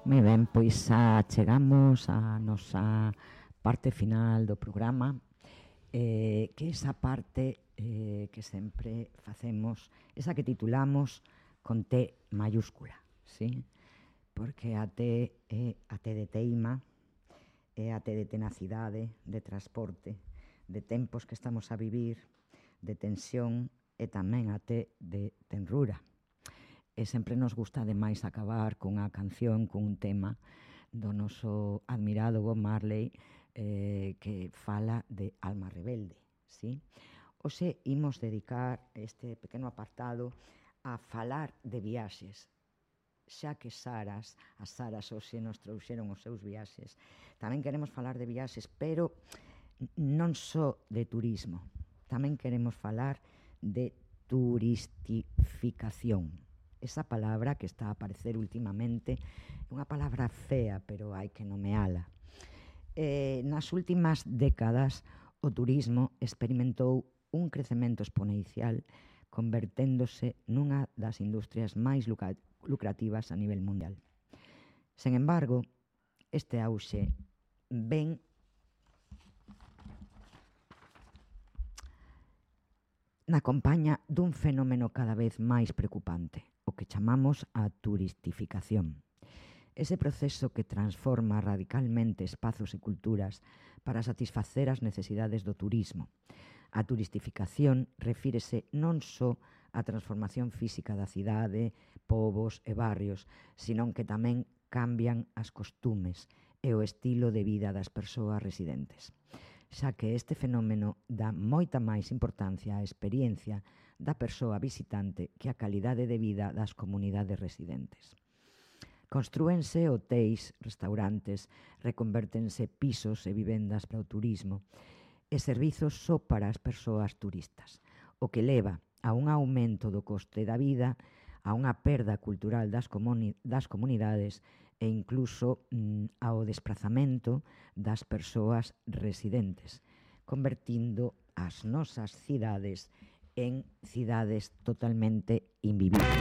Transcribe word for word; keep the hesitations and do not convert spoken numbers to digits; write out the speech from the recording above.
Moi ben, pois xa chegamos á nosa parte final do programa, eh, que esa parte eh, que sempre facemos, esa que titulamos con T mayúscula, sí? Porque a T é a T de teima, é a T de tenacidade, de transporte, de tempos que estamos a vivir, de tensión, e tamén a T de tenrura. E sempre nos gusta ademais acabar cunha canción, cun tema do noso admirado Bob Marley, eh, que fala de alma rebelde, sí? Hoxe imos dedicar este pequeno apartado a falar de viaxes, xa que Saras, as Saras hoxe nos trouxeron os seus viaxes. Tamén queremos falar de viaxes, pero non só de turismo, tamén queremos falar de turistificación. Esa palabra que está a aparecer últimamente é unha palabra fea, pero hai que nomeala. Eh, nas últimas décadas, o turismo experimentou un crecemento exponencial, converténdose nunha das industrias máis lucrativas a nivel mundial. Sen embargo, este auxe ven na compaña dun fenómeno cada vez máis preocupante, o que chamamos a turistificación. Ese proceso que transforma radicalmente espazos e culturas para satisfacer as necesidades do turismo. A turistificación refírese non só á transformación física da cidade, povos e barrios, senón que tamén cambian as costumes e o estilo de vida das persoas residentes, xa que este fenómeno dá moita máis importancia á experiencia da persoa visitante que a calidade de vida das comunidades residentes. Constrúense hotéis, restaurantes, reconvértense pisos e vivendas para o turismo e servizos só para as persoas turistas, o que leva a un aumento do coste da vida, a unha perda cultural das, comuni- das comunidades e incluso mm, ao desprazamento das persoas residentes, convertindo as nosas cidades en cidades totalmente invivibles.